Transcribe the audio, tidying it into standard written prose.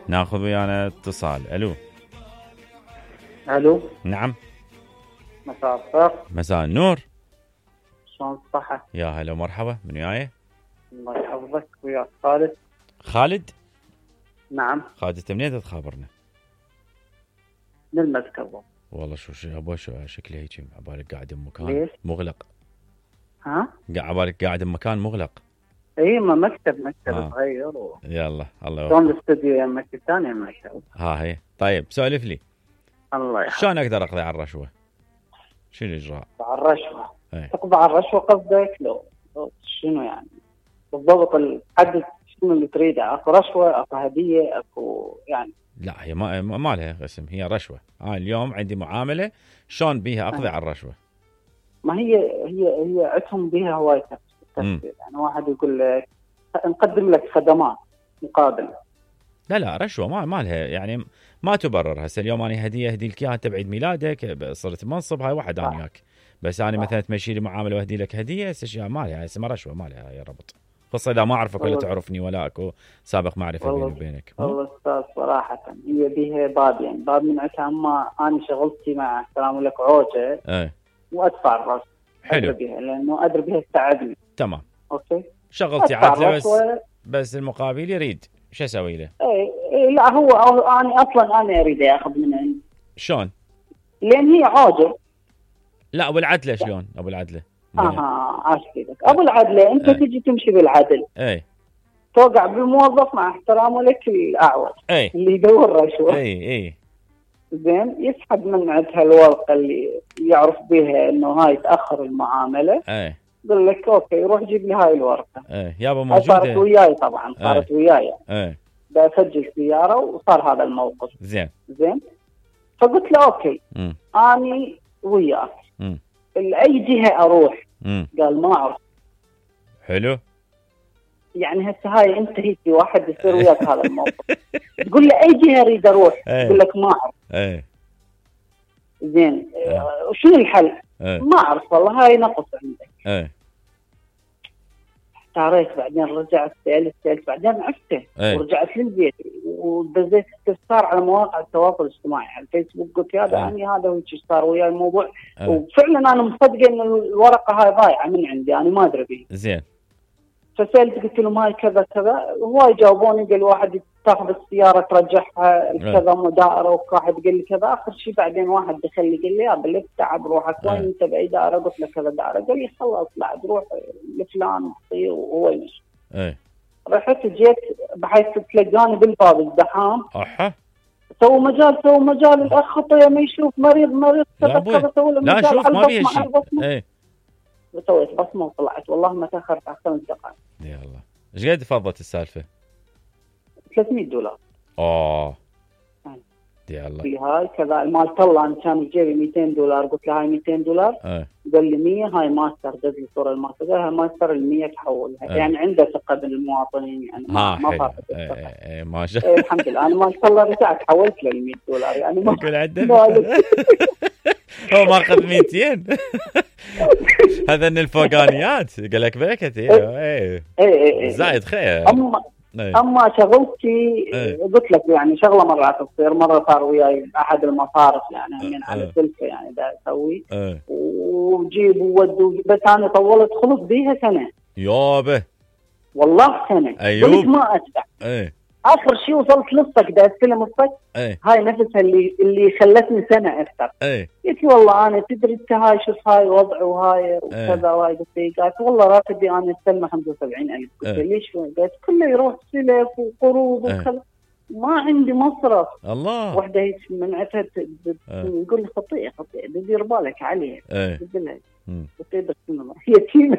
ناخذ ويانا اتصال. الو. الو. نعم. مساء الخير. مساء النور. شلون صحة؟ يا هلا ومرحبا. من وياي؟ الله يحفظك. وياك خالد. خالد. نعم. خالد انت منين تخابرنا؟ من المسكب. والله شو ابو شكلي هيك عبالك قاعد بمكان ليش؟ مغلق. ها؟ عبالك قاعد بمكان مغلق. اي ما مكتب صغير يلا الله يوفقك. شلون الاستوديو يا مكتب ثاني مكتب. ها هي. طيب سولف لي. الله يحفظك. شلون اقدر اقضي على الرشوه؟ شنو الاجراء؟ على الرشوة. ايه. تقضي على الرشوة قصدك لو شنو يعني؟ بالضبط الحد شنو اللي تريده؟ اكو رشوة، اكو هدية، اكو يعني. لا هي ما لها اسم، هي رشوه. اليوم عندي معامله شلون بيها اقضي على الرشوه؟ ما هي عندهم بها هواية تفسير. يعني واحد يقول لك نقدم لك خدمات مقابل. لا رشوه ما لها يعني ما تبرر. هسه اليوم انا هديه اهدي لك اياها انت بعيد ميلادك، صرت منصب، هاي واحد انا وياك. بس انا مثلا تمشي لي معامله واهدي لك هديه، هسه اشياء ما لها اسمها رشوه، ما لها يا ربط. خاصه اذا ما اعرفك ولا تعرفني ولا اكو سابق معرفه بيني وبينك. والله استاذ صراحه هي بيها باب، يعني باب من عندها. اما انا شغلتي مع احترام لك عوجه وادفع الراس. حلو. بيها لانه ادري بيها تساعدني. تمام. اوكي. شغلتي عدله بس المقابل يريد شو اسوي له؟ اي لا هو انا اصلا انا اريد اخذ من عندي. شلون؟ لان هي عوجه. لا ابو العدله شلون؟ ابو العدله عاشقك ابو العدله انت تجي تمشي بالعدل. اي. توقع بموظف مع احترامه لك الاعوج اللي يدور رشوه. اي زين يسحب من عندها الورقه اللي يعرف بها انه هاي تاخر المعامله. يقول لك اوكي روح جيب لي هاي الورقه. يابا موجوده. صارت وياي طبعا صارت وياي. بسجل سياره وصار هذا الموقف. زين. فقلت له اوكي اني وياك لاي جهه اروح. قال ما اعرف. حلو. يعني هسه هاي انت هيك واحد يصير وياك هذا الموقف تقول له اي جهه اريد اروح. يقول لك ما اعرف. زين شنو الحل؟ ما اعرف والله هاي نقص عندك. احتاريت بعدين رجعت سألت بعدين عفته ورجعت للبيت ودزيت استفسار على مواقع التواصل الاجتماعي على الفيسبوك. قلت هذا يعني هذا هو صار ويا الموضوع. وفعلا انا مصدقه ان الورقه هاي ضايعه من عندي انا ما ادري بيه. زين. فسألت قلت لهم هاي كذا هواي جاوبوني. قال واحد تاخذ السياره ترجعها كذا مدائره وواحد قال لي كذا. اخر شيء بعدين واحد دخل لي قال لي يا بلك تعب روحك وين انت باي دائره؟ قلت له كذا دائره. قال لي خلاص لا تروح لفلان وهو يمشي. رحت جيت بحيث تلقاني بالباب الزحام. سووا مجال الاخ خطيه ما يشوف مريض كذا سووا له مجال. لا شوف ما بيها شيء. وسويت بصمه وطلعت. والله ما تاخرت على 5 دقائق. يا الله. ايش قد فضت السالفه؟ $300. يا الله. في هاي كذا المال طلع. انا كان بجيبي $200. قلت له هاي $200. قال لي 100 هاي ماستر. دز لي صوره الماستر. قال هاي ماستر ال100 تحولها. يعني عنده ثقه بالمواطنين يعني ما فاتت الثقه. ما شاء الله. الحمد لله. انا مال طلع رجعت حولت له $100 يعني ما يقول عنده هو ماخذ 200. هذا من الفوقانيات. قال لك بيكت. زايد خير. اما شغلتي قلت لك يعني شغله مرات تصير. مره صار وياي احد المصارف يعني من على السلفه يعني دا اسوي وجيب وود. بس انا طولت خلص بيها سنه. يابه والله سنه. قلت ما ادفع. اخر شيء وصلت للصك دا استلم الصك. هاي نفسها اللي خلتني سنه اكثر. قلت والله انا تدري انت هاي شوف هاي وضع وهاي وكذا وهاي. قلت والله راتبي انا استلمه 75,000. قلت ليش؟ قلت كله يروح سلف وقروض وكذا ما عندي مصرف. الله. وحده هيك من عتها تقول لي خطيئه بدير بالك عليها. قلت لها يتيمه